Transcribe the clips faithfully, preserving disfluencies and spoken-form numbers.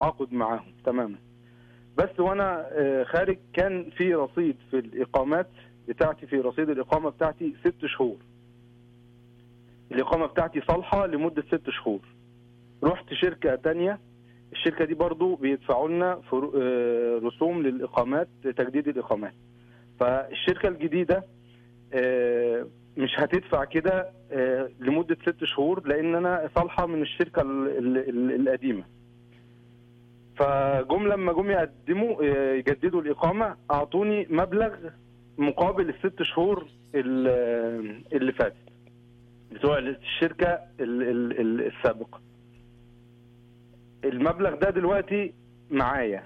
تعاقد معاهم تماما. بس وانا آه، خارج كان في رصيد في الاقامات بتاعتي، في رصيد الاقامه بتاعتي ست شهور. الاقامه بتاعتي صالحه لمده ست شهور. رحت شركه تانية، الشركه دي برضو بيدفعوا لنا فرو- آه، رسوم للاقامات، تجديد الاقامات. فالشركه الجديده آه، مش هتدفع كده آه، لمده ست شهور، لان انا صالحه من الشركه ال- ال- ال- القديمه. فجم لما جم يقدموا آه، يجددوا الإقامة، أعطوني مبلغ مقابل الست شهور ال- اللي فاتت بتوع الشركة ال- ال- ال- السابقة. المبلغ ده دلوقتي معايا.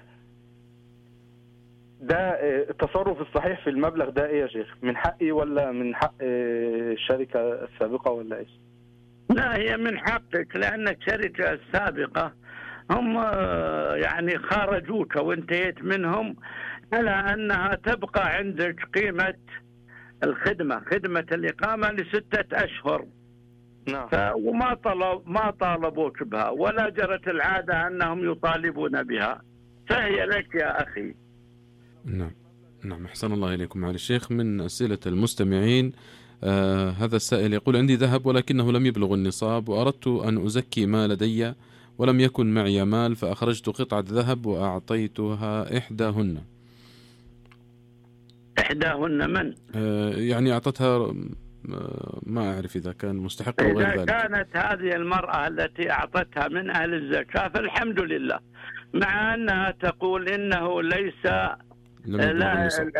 ده آه، التصرف الصحيح في المبلغ ده ايه يا شيخ؟ من حقي ولا من حق آه، الشركة السابقة ولا ايش؟ لا، هي من حقك، لأن الشركة السابقة هم آه، يعني خارجوك وانتهيت منهم على أنها تبقى عندك قيمة الخدمة، خدمة الإقامة لستة أشهر. نعم. ف... وما طلب ما طالبوك بها، ولا جرت العادة أنهم يطالبون بها، فهي لك يا أخي. نعم نعم أحسن الله إليكم معالي الشيخ. من أسئلة المستمعين آه هذا السائل يقول: عندي ذهب ولكنه لم يبلغ النصاب، وأردت أن أزكي ما لدي ولم يكن معي مال، فأخرجت قطعة ذهب وأعطيتها إحداهن. إحداهن من؟ آه يعني أعطتها آه ما أعرف إذا كان مستحق أو غير إذا ذلك. كانت هذه المرأة التي أعطتها من أهل الزكاة فالحمد لله، مع أنها تقول إنه ليس لم يبلغ لا النصاب.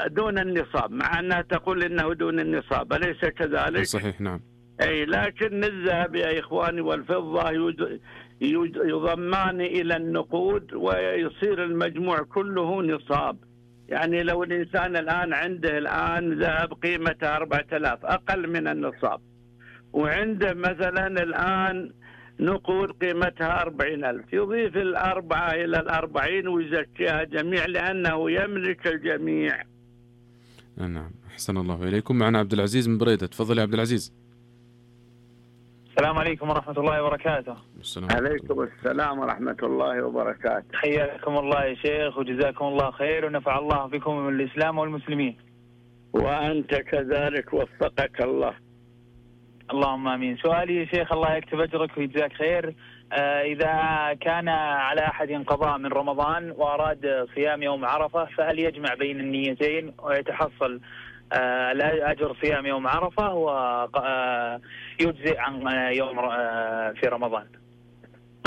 دون النصاب، مع أنها تقول إنه دون النصاب، أليس كذلك؟ صحيح نعم. أي، لكن الذهب يا إخواني والفضة يد- يد- يضمان إلى النقود ويصير المجموع كله نصاب. يعني لو الإنسان الآن عنده الآن ذهب قيمته أربعة آلاف أقل من النصاب، وعنده مثلا الآن نقود قيمتها أربعين ألف، يضيف الأربعة إلى الأربعين ويزكيها جميع لأنه يملك الجميع. نعم أحسن الله إليكم. معنا عبد العزيز من بريدة. تفضل يا عبد العزيز. السلام عليكم ورحمة الله وبركاته. السلام عليكم السلام ورحمة الله وبركاته. حياكم الله يا شيخ وجزاكم الله خير ونفع الله بكم الإسلام والمسلمين. وأنت كذلك وفقك الله. اللهم آمين. سؤالي يا شيخ، الله يكتب أجرك ويجزاك خير، آه إذا كان على أحد قضاء من رمضان وأراد صيام يوم عرفة، فهل يجمع بين النيتين ويتحصل آه أجر صيام يوم عرفة ويجزئ عن يوم آه في رمضان؟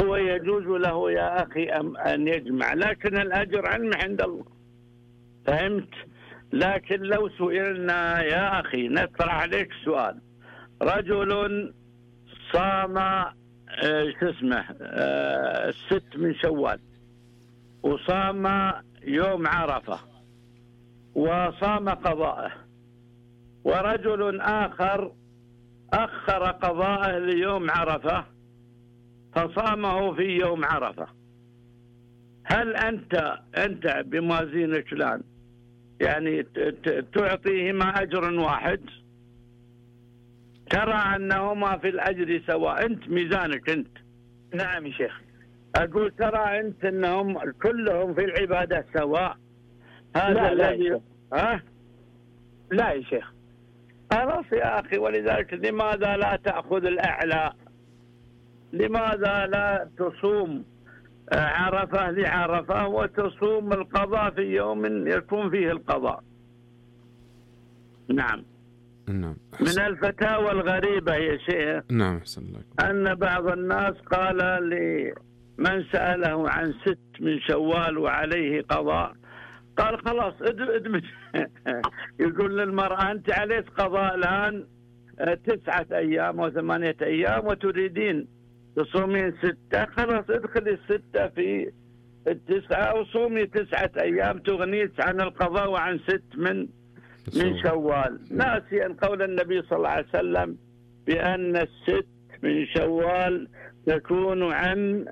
هو يجوز له يا أخي أن يجمع، لكن الأجر علم عند الله، فهمت؟ لكن لو سئلنا يا أخي نطرح عليك سؤال: رجل صام آه شو اسمه آه الست من شوال، وصام يوم عرفة وصام قضاءه، ورجل آخر أخر قضاءه ليوم عرفة فصامه في يوم عرفة، هل أنت أنت بموازينك الآن يعني تعطيهما أجر واحد؟ ترى أنهما في الأجر سواء، أنت ميزانك أنت. نعم يا شيخ. أقول ترى أنت أنهم كلهم في العبادة سواء. هذا لا لا الذي يا ها لا يا شيخ. خلاص يا أخي، ولذلك لماذا لا تأخذ الأعلى؟ لماذا لا تصوم عرفة لعرفة وتصوم القضاء في يوم يكون فيه القضاء؟ نعم. نعم من الفتاوى الغريبة يا شيخ نعم أحسن الله أن بعض الناس قال لمن سأله عن ست من شوال وعليه قضاء، قال خلاص ادمج. يقول للمرأة أنت عليك قضاء الآن تسعة أيام وثمانية أيام وتريدين تصومين ستة، خلاص ادخلي الستة في التسعة وصومي تسعة أيام تغنيك عن القضاء وعن ست من من شوال، ناسيا قول النبي صلى الله عليه وسلم بأن الست من شوال تكون عن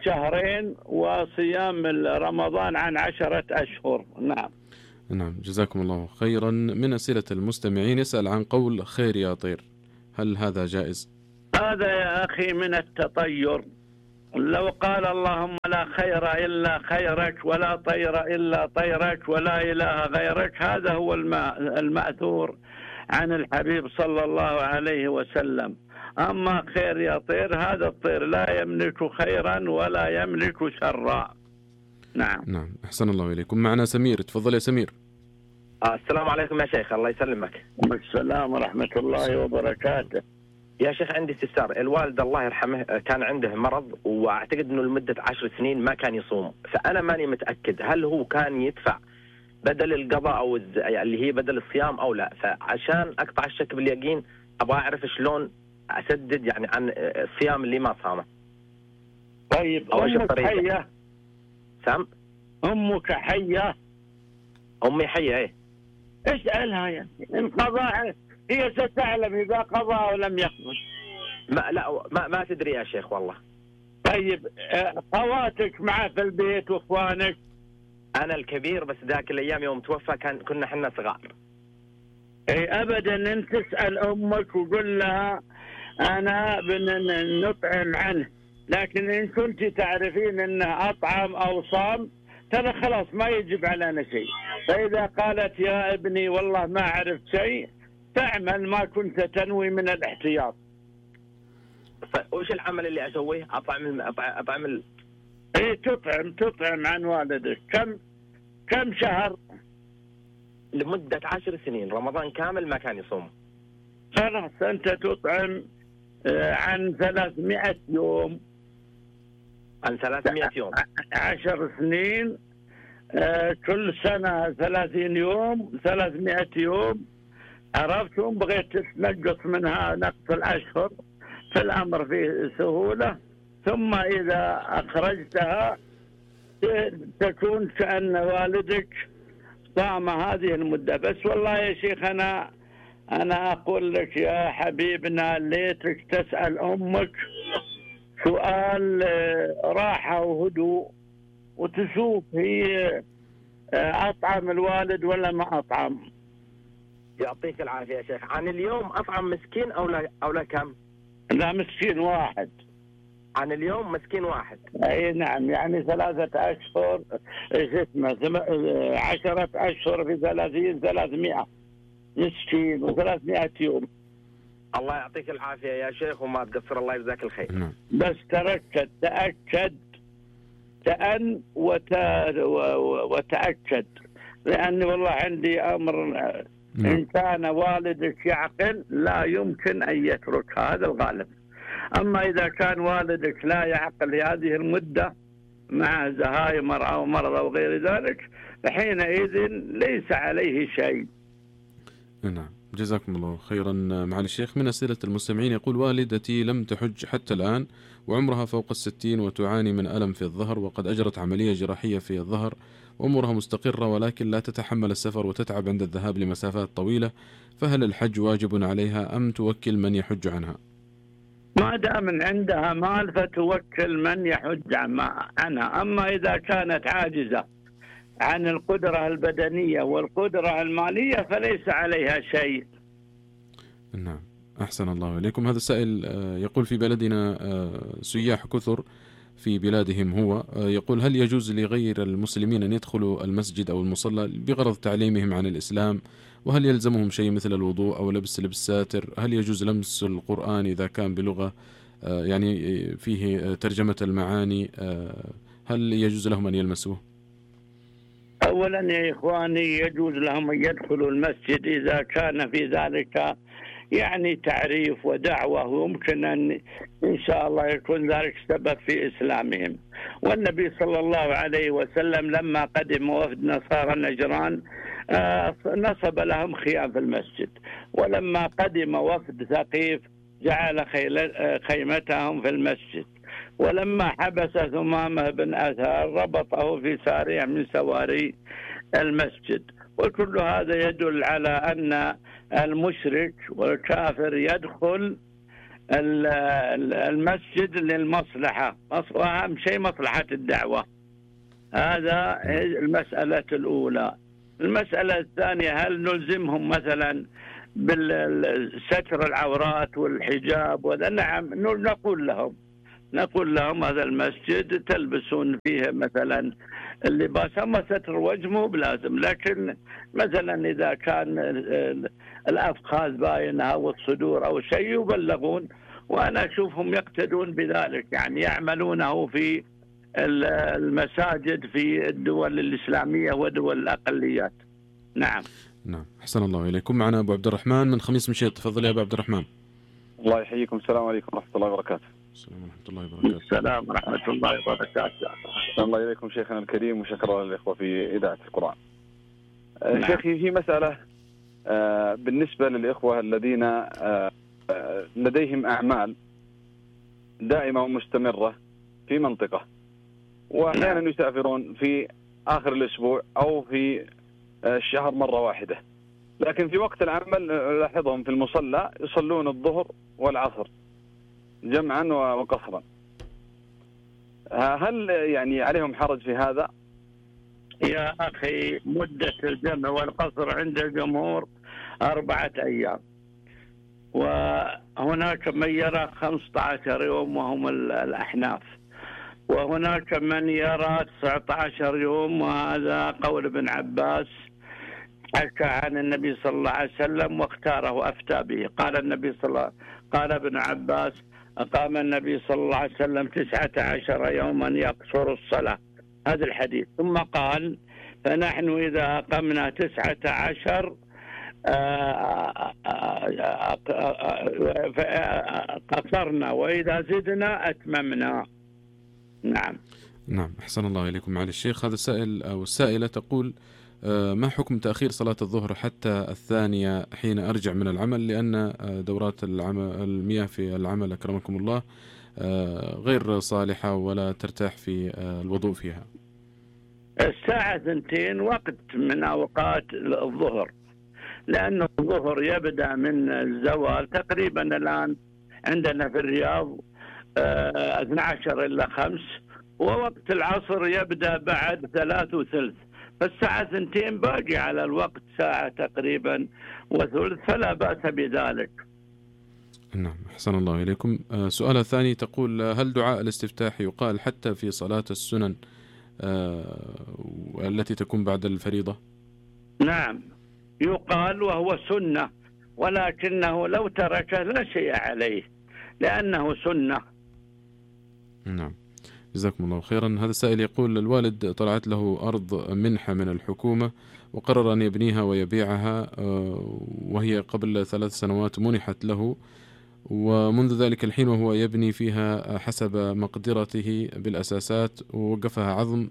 شهرين وصيام رمضان عن عشرة أشهر. نعم نعم جزاكم الله خيرا. من أسئلة المستمعين يسأل عن قول خير يا طير، هل هذا جائز؟ هذا يا أخي من التطير، لو قال اللهم لا خير إلا خيرك ولا طير إلا طيرك ولا إله غيرك، هذا هو المأثور عن الحبيب صلى الله عليه وسلم. أما خير يا طير، هذا الطير لا يملك خيرا ولا يملك شرا. نعم نعم، أحسن الله إليكم. معنا سمير، تفضل يا سمير. السلام عليكم يا شيخ، الله يسلمك. السلام ورحمة الله وبركاته. يا شيخ عندي استفسار. الوالد الله يرحمه كان عنده مرض، واعتقد انه لمدة عشر سنين ما كان يصوم، فانا ماني متأكد هل هو كان يدفع بدل القضاء او الز... اللي هي بدل الصيام او لا. فعشان اقطع الشك باليقين ابغى اعرف شلون اسدد يعني عن الصيام اللي ما صامه. طيب امك حية؟ سام امك حية؟ امي حية ايه. اسألها يعني ان قضاء هي ستعلم إذا قضى أو لم يقضي. ما لا ما, ما تدري يا شيخ والله. طيب خواتك معه في البيت واخوانك؟ أنا الكبير، بس ذاك الأيام يوم توفى كان كنا حنا صغار. أي أبدا، أنت تسأل أمك وقل لها أنا بنطعم عنه، لكن إن كنت تعرفين أنه أطعم أو صام ترى خلاص ما يجب علينا شيء. فإذا قالت يا ابني والله ما عرفت شيء، تعمل ما كنت تنوي من الاحتياط. وش العمل اللي اسويه؟ اطعم اطعم ال... ايه تطعم تطعم عن والدك. كم كم شهر؟ لمدة عشر سنين، رمضان كامل ما كان يصوم. خلاص انت تطعم عن ثلاثمائة يوم. عن ثلاثمائة يوم. عشر سنين، كل سنة ثلاثين يوم، ثلاثمائة يوم. عرفتم؟ بغيت تنقص منها نقص الأشهر في الأمر فيه سهولة، ثم إذا أخرجتها تكون كأن والدك صام هذه المدة. بس والله يا شيخ أنا أنا أقول لك يا حبيبنا ليتك تسأل أمك سؤال راحة وهدوء وتشوف هي أطعم الوالد ولا ما أطعم. يعطيك العافية يا شيخ. عن اليوم أطعم مسكين أو لا أو لا كم؟ لا مسكين واحد. عن اليوم مسكين واحد. أي نعم، يعني ثلاثة أشهر اسمه عشرة أشهر في ثلاثين ثلاثمائة مسكين وثلاثمائة يوم. الله يعطيك العافية يا شيخ وما تقصر، الله يجزاك الخير. نعم. بس تركز، تأكد، تأن وت... وتأكد، لأني والله عندي أمر. نعم. إن كان والدك يعقل لا يمكن أن يترك، هذا الغالب. أما إذا كان والدك لا يعقل هذه المدة مع زهايمر أو مرض أو غير ذلك، فحينئذ ليس عليه شيء. نعم، جزاكم الله خيرا معالي الشيخ. من أسئلة المستمعين يقول: والدتي لم تحج حتى الآن وعمرها فوق الستين وتعاني من ألم في الظهر، وقد أجرت عملية جراحية في الظهر وأمورها مستقرة، ولكن لا تتحمل السفر وتتعب عند الذهاب لمسافات طويلة، فهل الحج واجب عليها أم توكل من يحج عنها؟ ما دام عندها مال فتوكل من يحج عنها. أما إذا كانت عاجزة عن القدرة البدنية والقدرة المالية فليس عليها شيء. نعم، أحسن الله إليكم. هذا السائل يقول: في بلدنا سياح كثر في بلادهم هو، يقول: هل يجوز لغير المسلمين أن يدخلوا المسجد أو المصلى بغرض تعليمهم عن الإسلام؟ وهل يلزمهم شيء مثل الوضوء أو لبس لبس ساتر؟ هل يجوز لمس القرآن إذا كان بلغة يعني فيه ترجمة المعاني؟ هل يجوز لهم أن يلمسوه؟ أولا يا إخواني يجوز لهم أن يدخلوا المسجد إذا كان في ذلك يعني تعريف ودعوة، ويمكن أن إن شاء الله يكون ذلك سبب في إسلامهم. والنبي صلى الله عليه وسلم لما قدم وفد نصارى نجران نصب لهم خيام في المسجد، ولما قدم وفد ثقيف جعل خيمتهم في المسجد، ولما حبس ثمامة بن أثار ربطه في سارية من سواري المسجد. وكل هذا يدل على أن المشرك والكافر يدخل المسجد للمصلحة، وأهم شيء مصلحة الدعوة. هذا المسألة الأولى. المسألة الثانية: هل نلزمهم مثلا بالستر العورات والحجاب؟ وذا نعم، نقول لهم نقول لهم هذا المسجد تلبسون فيه مثلا اللباس، أما ستر وجه مو بلازم، لكن مثلا إذا كان الأفخاذ باينة أو الصدور أو شيء يبلغون، وأنا أشوفهم يقتدون بذلك، يعني يعملونه في المساجد في الدول الإسلامية ودول الأقليات. نعم نعم أحسن الله إليكم. معنا أبو عبد الرحمن من خميس مشيط، تفضل يا أبو عبد الرحمن. الله يحييكم. السلام عليكم ورحمة الله وبركاته. السلام ورحمة الله وبركاته. السلام ورحمة الله وبركاته. الله إليكم شيخنا الكريم، وشكرا للإخوة في إذاعة القرآن. نعم. شيخي في مسألة بالنسبة للإخوة الذين لديهم أعمال دائمة ومستمرة في منطقة، وأحيانا يسافرون في آخر الأسبوع أو في الشهر مرة واحدة، لكن في وقت العمل لاحظهم في المصلى يصلون الظهر والعصر جمعا وقصرا. هل يعني عليهم حرج في هذا؟ يا أخي مدة الجمع والقصر عند الجمهور أربعة أيام، وهناك من يرى خمسة عشر يوم وهم الأحناف، وهناك من يرى تسعة عشر يوم، وهذا قول ابن عباس حكى عن النبي صلى الله عليه وسلم واختاره وأفتى به. قال النبي صلى الله قال ابن عباس: أقام النبي صلى الله عليه وسلم تسعة عشر يوما يقصر الصلاة، هذا الحديث. ثم قال: فنحن إذا أقمنا تسعة عشر قصرنا، وإذا زدنا أتممنا. نعم نعم أحسن الله إليكم. معالي الشيخ، هذا السائل أو السائلة تقول: ما حكم تأخير صلاة الظهر حتى الثانية حين أرجع من العمل، لأن دورات المياه في العمل أكرمكم الله غير صالحة ولا ترتاح في الوضوء فيها؟ الساعة ثنتين وقت من أوقات الظهر، لأن الظهر يبدأ من الزوال تقريبا الآن عندنا في الرياض اثني عشر إلى خمس، ووقت العصر يبدأ بعد ثلاث وثلث، فالساعة ثنتين باقي على الوقت ساعة تقريبا وثلث، فلا بأس بذلك. نعم أحسن الله إليكم. سؤال الثاني تقول: هل دعاء الاستفتاح يقال حتى في صلاة السنن التي تكون بعد الفريضة؟ نعم يقال، وهو سنة، ولكنه لو تركه لا شيء عليه لأنه سنة. نعم جزاكم الله خيرا. هذا السائل يقول: الوالد طلعت له أرض منحة من الحكومة وقرر أن يبنيها ويبيعها، وهي قبل ثلاث سنوات منحت له، ومنذ ذلك الحين وهو يبني فيها حسب مقدرته بالأساسات، ووقفها عظم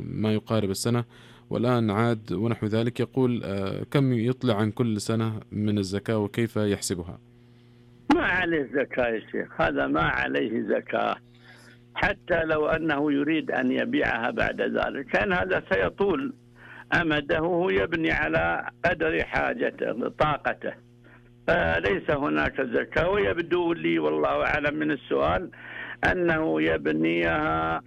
ما يقارب السنة، والآن عاد ونحو ذلك. يقول: كم يطلع عن كل سنة من الزكاة وكيف يحسبها؟ ما عليه زكاة يا شيخ، هذا ما عليه زكاة، حتى لو أنه يريد أن يبيعها بعد ذلك، كان هذا سيطول أمده، هو يبني على قدر حاجته طاقته، فليس هناك زكاة. ويبدو لي والله أعلم من السؤال أنه يبنيها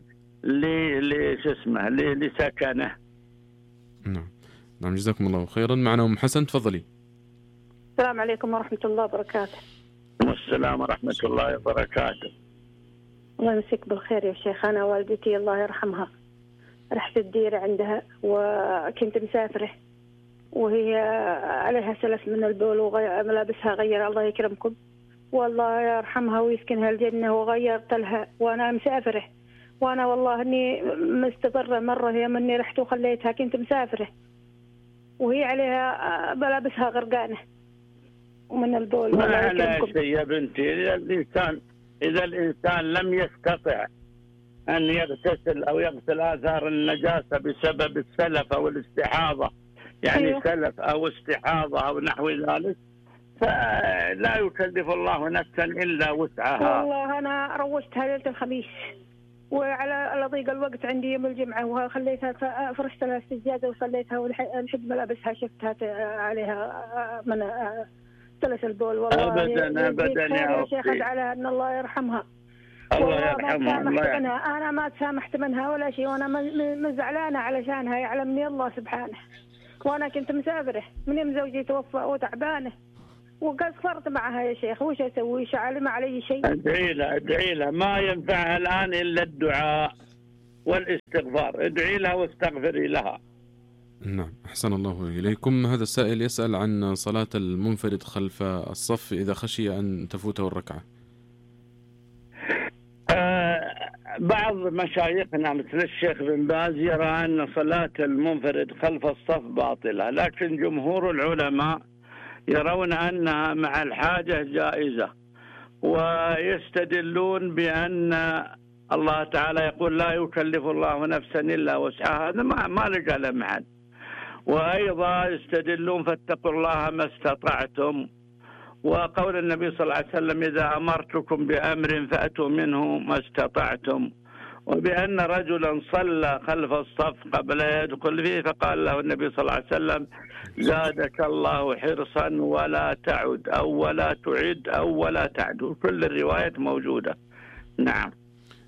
اسمه لسكنه. نعم نعم جزاكم الله خيرا. معنا أم حسن، تفضلي. السلام عليكم ورحمة الله وبركاته. والسلام ورحمة الله وبركاته. الله يمسك بالخير يا شيخ. أنا والدتي الله يرحمها رحت الديرة عندها وكنت مسافرة، وهي عليها سلف من البول وملابسها غير، الله يكرمكم والله يرحمها ويسكنها الجنة، وغيرت لها وأنا مسافرة، وأنا والله إني مستضرة مرة يوم إني رحت وخليتها، كنت مسافرة وهي عليها ملابسها غرقانة ومن البول. ما على شيء يا بنتي، إذا الإنسان إذا الإنسان لم يستطع أن يغتسل أو يغسل آثار النجاسة بسبب السلف أو الاستحاضة، يعني أيوه. سلف أو استحاضة أو نحو ذلك، فلا يكلف الله نفسا إلا وسعها. والله أنا روشتها ليلة الخميس، وعلى ضيق الوقت عندي يوم الجمعة، وخليتها فرشت لها السجادة وصليتها، ولحد ملابسها شفتها عليها من ثلث البول. والله أبدا أبدا يا شيخ على أن الله يرحمها. الله يرحمها. الله منها. أنا ما تسامحت منها ولا شيء، وأنا مزعلانة علشانها، يعلمني الله سبحانه، وأنا كنت مسافرة من يوم زوجي توفى وتعبانة، وقصرت معها يا شيخ، وش أسوي؟ شعل ما علي شيء؟ ادعي لها ادعي لها، ما ينفعها الآن إلا الدعاء والاستغفار، ادعي لها واستغفري لها. نعم، أحسن الله إليكم. هذا السائل يسأل عن صلاة المنفرد خلف الصف إذا خشي أن تفوته الركعة. آه بعض مشايخنا مثل الشيخ بن باز يرى أن صلاة المنفرد خلف الصف باطلة، لكن جمهور العلماء يرون أنها مع الحاجة جائزة، ويستدلون بأن الله تعالى يقول لا يكلف الله نفسا إلا وسعها، هذا ما ما لقى له محل. وأيضا يستدلون فاتقوا الله ما استطعتم، وقول النبي صلى الله عليه وسلم إذا أمرتكم بأمر فأتوا منه ما استطعتم، وبأن رجلا صلى خلف الصف قبل يدخل فيه فقال له النبي صلى الله عليه وسلم زادك الله حرصا ولا تعد أو ولا تعد أو ولا تعد، كل الروايات موجودة. نعم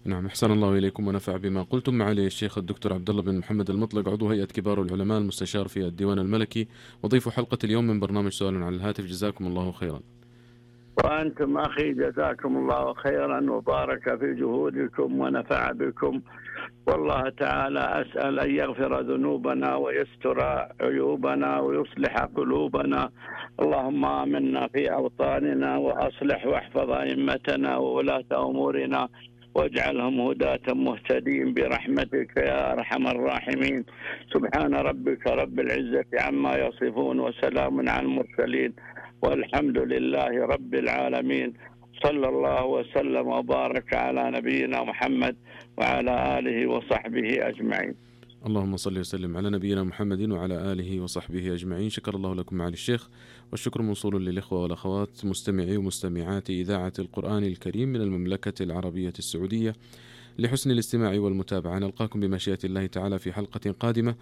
نعم، أحسن الله إليكم ونفع بما قلتم. معالي الشيخ الدكتور عبد الله بن محمد المطلق، عضو هيئة كبار العلماء، المستشار في الديوان الملكي، وضيف حلقة اليوم من برنامج سؤال على الهاتف، جزاكم الله خيرا. وأنتم أخي جزاكم الله خيرا وبارك في جهودكم ونفع بكم، والله تعالى أسأل أن يغفر ذنوبنا ويستر عيوبنا ويصلح قلوبنا. اللهم آمنا في أوطاننا وأصلح واحفظ أئمتنا وولاة أمورنا واجعلهم هداة مهتدين برحمتك يا أرحم الراحمين. سبحان ربك رب العزة عما يصفون وسلام على المرسلين والحمد لله رب العالمين. صلى الله وسلم وبارك على نبينا محمد وعلى آله وصحبه أجمعين. اللهم صل وسلم على نبينا محمد وعلى آله وصحبه أجمعين. شكر الله لكم معالي الشيخ، والشكر موصول للإخوة والأخوات مستمعي ومستمعات إذاعة القرآن الكريم من المملكة العربية السعودية لحسن الاستماع والمتابعة. نلقاكم بمشيئة الله تعالى في حلقة قادمة.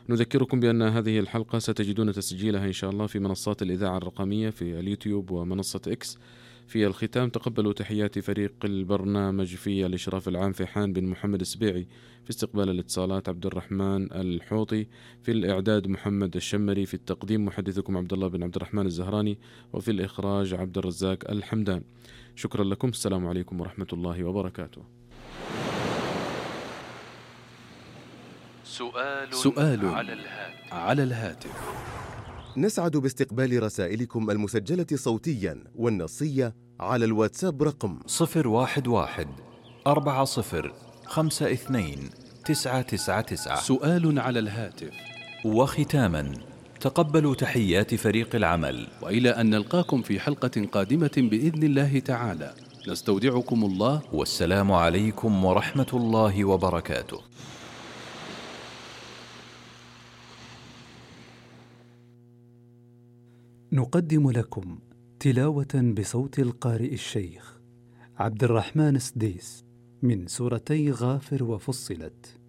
نذكركم بأن هذه الحلقة ستجدون تسجيلها إن شاء الله في منصات الإذاعة الرقمية في اليوتيوب ومنصة إكس. في الختام تقبلوا تحيات فريق البرنامج في الإشراف العام فيحان بن محمد السبيعي، في استقبال الاتصالات عبد الرحمن الحوطي، في الإعداد محمد الشمري، في التقديم محدثكم عبد الله بن عبد الرحمن الزهراني، وفي الإخراج عبد الرزاق الحمدان. شكرا لكم، السلام عليكم ورحمة الله وبركاته. سؤال, سؤال على الهاتف. على الهاتف نسعد باستقبال رسائلكم المسجلة صوتيا والنصية على الواتساب رقم صفر واحد واحد أربعة صفر خمسة اثنين تسعة تسعة تسعة. سؤال على الهاتف. وختاما تقبلوا تحيات فريق العمل، وإلى أن نلقاكم في حلقة قادمة بإذن الله تعالى، نستودعكم الله، والسلام عليكم ورحمة الله وبركاته. نقدم لكم تلاوة بصوت القارئ الشيخ عبد الرحمن السديس من سورتي غافر وفصلت.